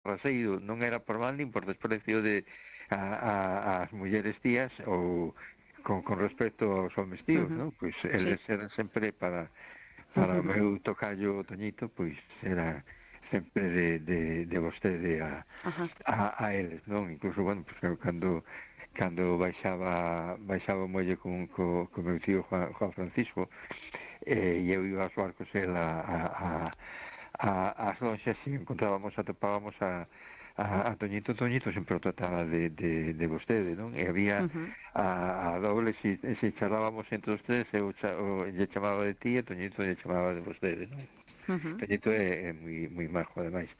raseiro, non era por mal nin por desprecio de as mulleres tías ou con respecto aos homes tíos, non? Pois eles eran sempre para o meu tocayo Toñito, pois era sempre de vostede a eles, non? Incluso, bueno, pois cando baixaba o muelle co meu tío Juan Francisco, e eu iba aos barcos el as lonxas e atopábamos a Toñito sempre o trataba de vostede, non? E había a doble, se charlábamos entre os tres, eu lle chamaba de ti e Toñito lle chamaba de vostede, non? Toñito é moi majo, ademais,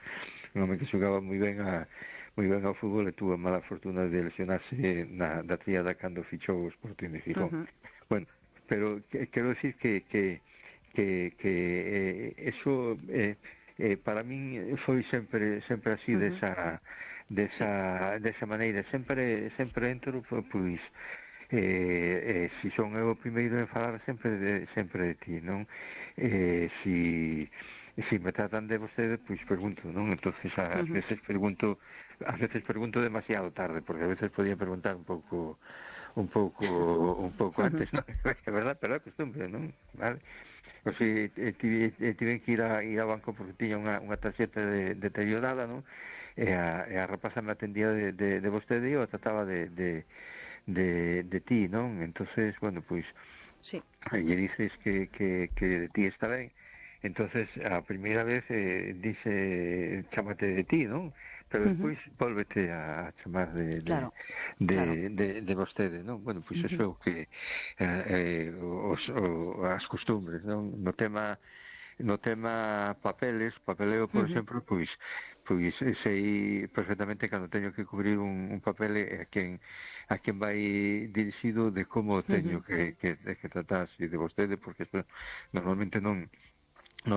un home que xogaba moi ben ao fútbol e tuvo a mala fortuna de lesionarse da tríada cando fichou o Sporting de Gijón. Bueno, pero quero decir que eso para min foi sempre así desa maneira, sempre entro, pois se son eu o primeiro en falar sempre de ti, non? Se me tratan de vostede, pois pregunto, non? Entonces ás veces pregunto demasiado tarde, porque a veces podía preguntar un pouco antes, non? É verdad, pero é costumbre, non? Vale? O sea, tiven que ir ao banco porque tiña unha tarxeta deteriorada, non? E a rapaza me atendía de vostede e eu trataba de ti, non? Entonces, bueno, pois lle dices que de ti está ben. Entonces, a primeira vez dice chámate de ti, non? Pero despois volvete a chamar de vostede, non? Bueno, pois eso é o que as costumbres, non? No tema papeleo, por exemplo, pois sei perfectamente cando teño que cubrir un papel a quen vai dirixido, de como teño que tratar, de vostede, porque normalmente non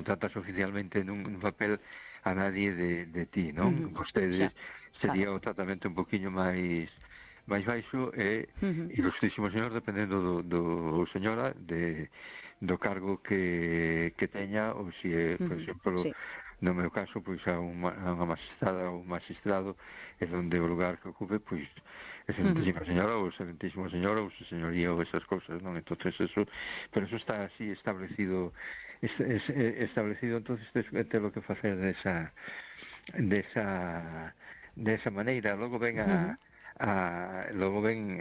tratas oficialmente nun papel a nadie de ti, non? Vostede sería o tratamento un poquinho máis baixo e ilustrísimo señor, dependendo do señora, do cargo que teña, ou se, por exemplo, no meu caso, pois a unha magistrada ou un magistrado, é onde o lugar que ocupe, pois excelentísima señora ou excelentísimo señor ou su señoría ou esas cousas, non? Entonces eso, pero eso está así establecido, entonces te lo que facer desa maneira. Logo ven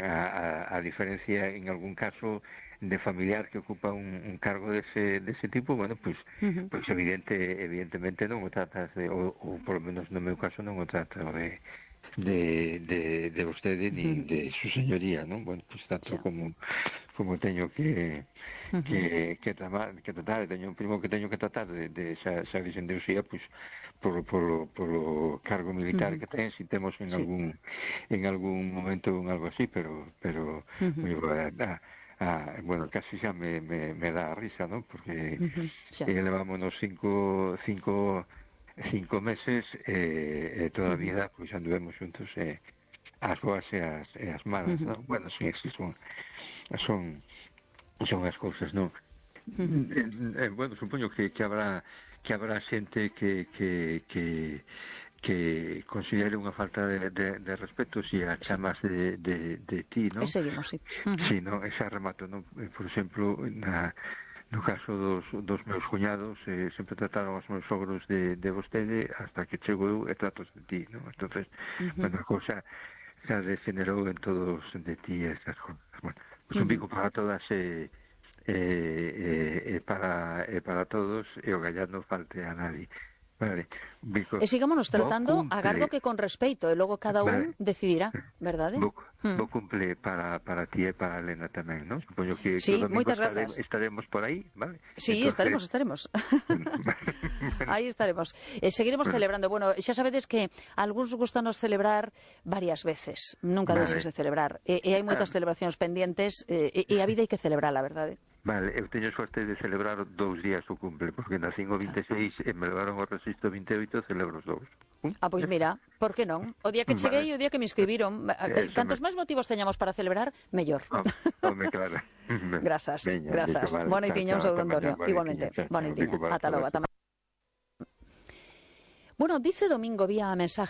a diferencia en algún caso de familiar que ocupa un cargo dese tipo, bueno, pois evidentemente non o tratas ou por lo menos no meu caso non o trato de vostede ni de su señoría, non? Bueno, pois tanto como teño que tratar, teño un primo que teño que tratar de xa dixen de usía, pois polo cargo militar que ten, si temos en algún momento algo así, pero bueno, casi xa me dá a risa, non? Porque levámonos cinco meses e toda a vida pois anduvemos xuntos, as boas e as malas, non? Bueno, sí, son as cousas, non? Bueno, supoño que habrá xente que considere unha falta de respeto se a chamas de ti, non? E seguimos, sí. Sí, non, ese remato, non? Por exemplo, no caso dos meus cuñados, sempre trataron os meus sogros de vostede, hasta que chego eu e tratos de ti, non? Entonces, bueno, a cousa xa degenerou en todos de ti estas cousas. Bueno, pues un bico para todas para todos, e o gallán non falte a nadie. Vale, e sigámonos tratando, agardo que con respeito, e logo cada un decidirá, verdade? Bo cumple para ti e para Elena tamén, non? Supoño que sí, o domingo estaremos por aí, vale? Sí, entonces... estaremos. Aí estaremos. Seguiremos celebrando. Bueno, xa sabedes que algúns gustanos celebrar varias veces, nunca deixes de celebrar, e hai moitas celebracións pendientes, e a vida hai que celebrarla, verdade? Vale, eu teño suerte de celebrar 2 días o cumple, porque nacín o 26 e me levaron ao registro 28, celebro os 2. Pois mira, por que non? O día que cheguei e o día que me inscribiron, cantos máis motivos teñamos para celebrar, mellor. Home, claro. Grazas. Boa noitiña, un saúdo, Antonio. Igualmente, boa noitiña. Ata logo, ata Bueno, dice Domingo vía mensaje.